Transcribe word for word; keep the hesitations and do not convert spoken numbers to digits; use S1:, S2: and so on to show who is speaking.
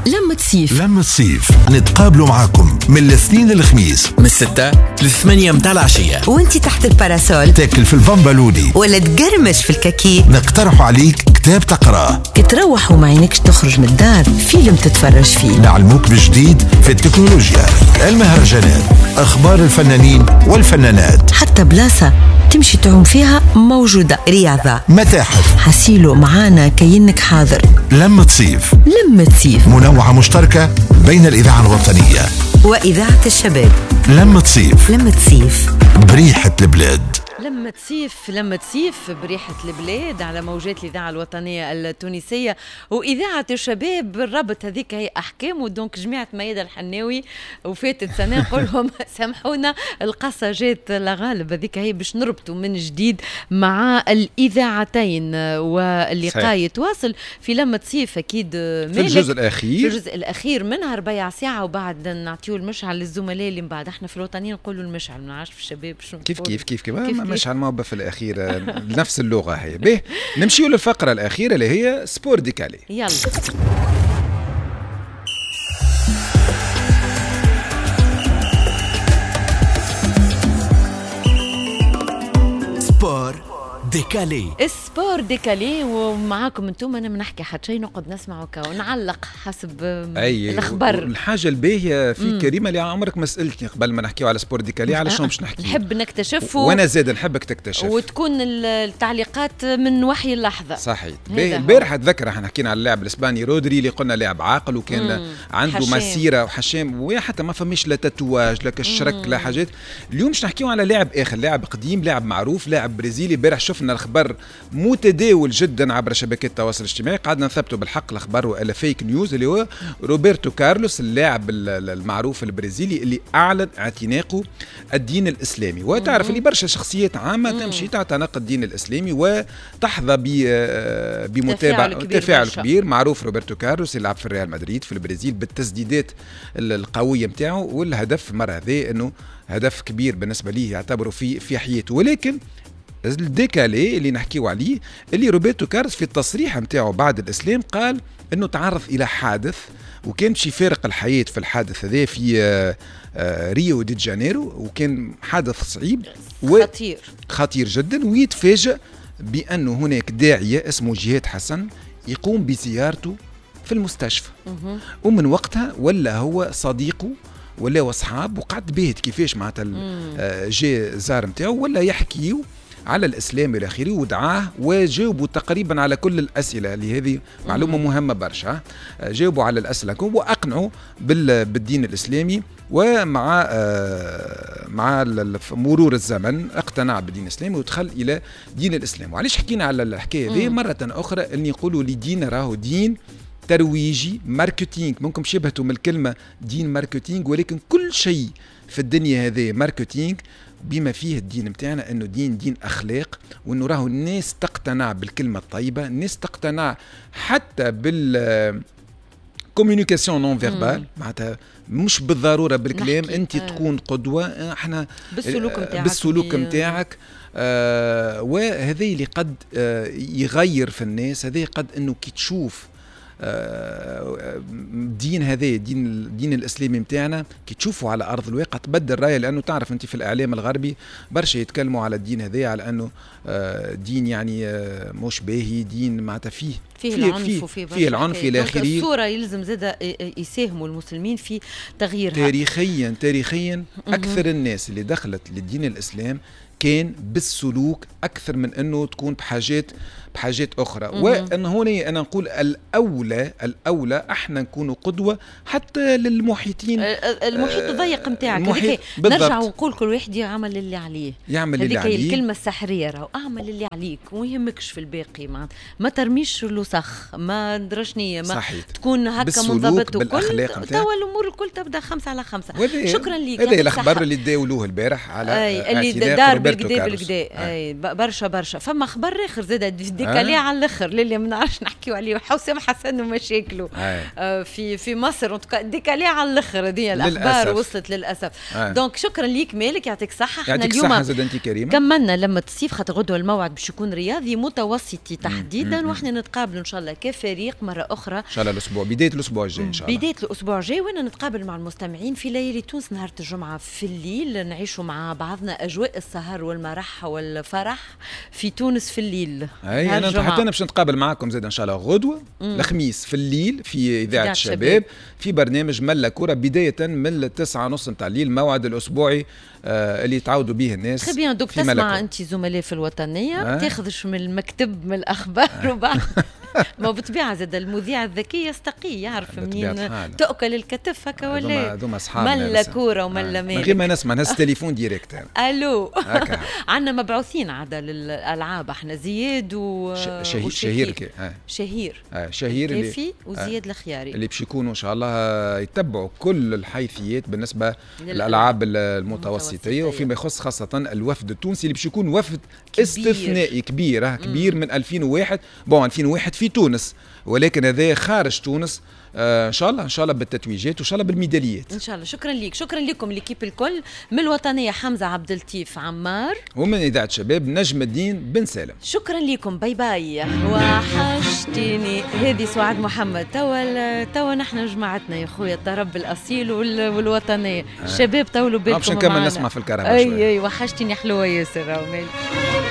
S1: لمة صيف،
S2: لمة صيف نتقابلوا معاكم من الاثنين للخميس
S3: من الستة للثمانية متاع العشية،
S1: وانت تحت ال parasol
S2: تاكل في البامبالوني
S1: ولا تقرمش في الكاكي،
S2: نقترح عليك كتاب تقراه،
S1: تروح وما عينكش تخرج من الدار، فيلم تتفرج فيه،
S2: نعلموك بجديد في التكنولوجيا، المهرجانات، أخبار الفنانين والفنانات،
S1: حتى بلاصة تمشي تعوم فيها موجودة، رياضة،
S2: متاحف،
S1: حسيلو معانا كأنك حاضر.
S2: لمة صيف،
S1: لمة صيف
S2: منوعة مشتركة بين الإذاعة الوطنية
S1: وإذاعة الشباب.
S2: لمة صيف،
S1: لمة صيف
S2: بريحة البلاد.
S4: لمة صيف، لمة صيف بريحة البلاد على موجات الإذاعة الوطنية التونسية وإذاعة الشباب. بالربط هذيك هي أحكام، و donc جماعة ميادة الحناوي وفاتت سنة نقول لهم سامحونا القصة جات لغالب، هذيك هي باش نربطوا من جديد مع الإذاعتين، واللقاء يتواصل في لمة صيف أكيد
S5: في الجزء الأخير،
S4: في الجزء الأخير منها ربيع ساعة، وبعد نعطيو المشعل للزملاء اللي من بعد. احنا في الوطنية نقولوا المشعل، ما نعرفش في الشباب شنو
S5: كيف كيف كيف كيف, كيف مش على الموبة في الأخير نفس اللغة هي. به نمشيو للفقرة الأخيرة اللي هي sport décalé.
S4: يلا
S3: sport décalé،
S4: ال sport décalé ومعاكم انتم. انا ما نحكي حتى شيء، نقعد نسمع ونعلق حسب الاخبار.
S5: الحاجة الباهيه في كريمة اللي عمرك ما سالتني قبل ما نحكيو على sport décalé على شنو باش نحكي.
S4: نحب نكتشف،
S5: وانا زاد نحبك تكتشف،
S4: وتكون التعليقات من وحي اللحظة.
S5: صحيح. البارح اتذكر احنا حكينا على اللاعب الاسباني رودري اللي قلنا لاعب عاقل وكان مم. عنده حشام. مسيره وحشام، وحتى ما فماش لا tatouage لا كشرك لا حاجات. اليوم باش نحكيو على لاعب اخر، لاعب قديم، لاعب معروف، لاعب برازيلي. البارح شفنا الخبر متداول جدا عبر شبكات التواصل الاجتماعي، قعدنا نثبتوا بالحق الخبر والا fake news، اللي هو روبرتو كارلوس اللاعب المعروف البرازيلي اللي اعلن اعتناقه الدين الاسلامي. وتعرف اللي برشا شخصيات عامة تمشي تعتنق الدين الاسلامي وتحظى بمتابعة تفاعل كبير. معروف روبرتو كارلوس اللي لعب في الريال مدريد في البرازيل بالتسديدات القوية نتاعو، والهدف المرة هذه انه هدف كبير بالنسبة ليه يعتبره في في حياته. ولكن ال décalé اللي نحكيو عليه اللي روبرتو كارلوس في التصريح نتاعو بعد الاسلام قال انه تعرض الى حادث وكان باش يفارق الحياة في الحادث هذا في ريو دي جانيرو، وكان حادث صعيب
S4: خطير
S5: خطير جدا، ويتفاجأ بانه هناك داعيه اسمه جهاد حسن يقوم بزيارته في المستشفى. ومن وقتها ولا هو صديقه ولا اصحاب، وقعد باهت كيفاش معناتها جا زار نتاعو ولا يحكيو على الإسلام إلى آخره، ودعاه وجاوبوا تقريبا على كل الأسئلة اللي هذه معلومة مهمة برشا. جاوبوا على الأسئلة وأقنعوا بالدين الإسلامي، ومع مع مرور الزمن اقتنع بالدين الإسلامي ودخل إلى دين الإسلام. وعلاش حكينا على الحكاية هذه مرة أخرى؟ أن يقولوا لدين راهو دين ترويجي marketing، ممكن شبهته من الكلمة دين marketing، ولكن كل شيء في الدنيا هذه marketing بما فيه الدين متاعنا، انه دين دين اخلاق، وانه راهو الناس تقتنع بالكلمة الطيبة، الناس تقتنع حتى بال communication non verbale، معناتها مش بالضرورة بالكلام، انت آه. تكون قدوة، احنا
S4: بالسلوك نتاعك
S5: بالسلوك نتاعك آه وهذا اللي قد آه يغير في الناس. هذا قد انه كي تشوف الدين هذا الدين الدين الاسلامي نتاعنا كي تشوفوا على ارض الواقع تبدل رايه، لانه تعرف انت في الاعلام الغربي برشا يتكلموا على الدين هذا على انه دين يعني مش باهي، دين معناتها فيه
S4: فيه العنف وفيه
S5: فيه العنف الى اخره.
S4: الصورة يلزم زاده يساهموا المسلمين في تغييرها
S5: تاريخيا. تاريخيا اكثر الناس اللي دخلت للدين الاسلام كان بالسلوك اكثر من انه تكون بحاجات بحاجات اخرى. وان هنا انا نقول الاولى الاولى احنا نكونوا قدوة حتى للمحيطين،
S4: المحيط الضيق نتاعك. نرجع ونقول كل واحد يعمل اللي عليه،
S5: يعمل اللي عليه.
S4: الكلمة السحريه راهو اعمل اللي عليك وما يهمكش في الباقي، ما, ما ترميش الوسخ، ما درشنيه، ما صحيح. تكون هكا منضبط وكل توا الامور الكل تبدا خمسة على خمسة. شكرا لك.
S5: هذا الاخبار اللي تداولوه البارح على
S4: اللي دار بالكدا بالكدا. اي برشا برشا. فما خبر اخر زاد décalé décalé على الاخر اللي ما نعرفش نحكيو عليه، حسام حسن ومشاكله آه في في مصر، décalé على الاخر. هذه الاخبار وصلت للاسف. donc شكرا ليك مالك، يعطيك الصحة.
S5: احنا اليوم زاد انت كريمة
S4: كملنا لما الصيف، خاطر غدوه الموعد باش يكون رياضي متوسطي تحديدا، واحنا نتقابلوا ان شاء الله كفريق مرة اخرى
S5: ان شاء الله الاسبوع، بداية الاسبوع الجاي ان شاء
S4: الله، بداية الاسبوع الجاي، وانا نتقابل مع المستمعين في ليالي تونس نهار الجمعة في الليل، نعيشوا مع بعضنا اجواء السهر والمرح والفرح في تونس في الليل.
S5: اي انا حتى انا باش نتقابل معكم زاد ان شاء الله غدوه الخميس في الليل في اذاعة الشباب في برنامج ملا كره، بداية من التسعة ونص نتاع الليل، الموعد الاسبوعي آه اللي يتعودوا به الناس.
S4: très bien. donc تسمع انت زملاء في الوطنية آه. تاخذش من المكتب من الاخبار آه. وبعد ما بالطبيعة زاد المذيع الذكي يستقي يعرف منين تاكل الكتف هكا ولا.
S5: هذوما اصحابنا.
S4: ملا كورة وملا
S5: مالك، من غير ما نسمع نهز تليفون direct.
S4: الو، عندنا مبعوثين عادة للالعاب احنا، زياد و
S5: شهير شهير
S4: آه. شهير
S5: آه. شهير
S4: الكافي وزياد آه. الخياري
S5: اللي باش يكونوا ان شاء الله يتبعوا كل الحيثيات بالنسبة للالعاب المتوسطيه، وفيما يخص خاصة الوفد التونسي اللي باش يكون وفد كبير. استثنائي كبير كبير من ألفين وواحد، bon ألفين وواحد في تونس، ولكن هذا خارج تونس. آه ان شاء الله ان شاء الله بالتتويجات وان شاء الله بالميداليات
S4: ان شاء الله. شكرا لك، شكرا لكم l'équipe الكل، من الوطنية حمزة عبد اللطيف عمار،
S5: ومن اذاعة شباب نجم الدين بن سالم.
S4: شكرا لكم، bye bye. وحشتيني هذه سعاد محمد. توا توا نحن جماعتنا يا خويا الطرب الاصيل والوطنيه، الشباب طولوا بالكم.
S5: باش نكمل نسمع في الكرهبة.
S4: اي اي وحشتيني حلوة ياسر.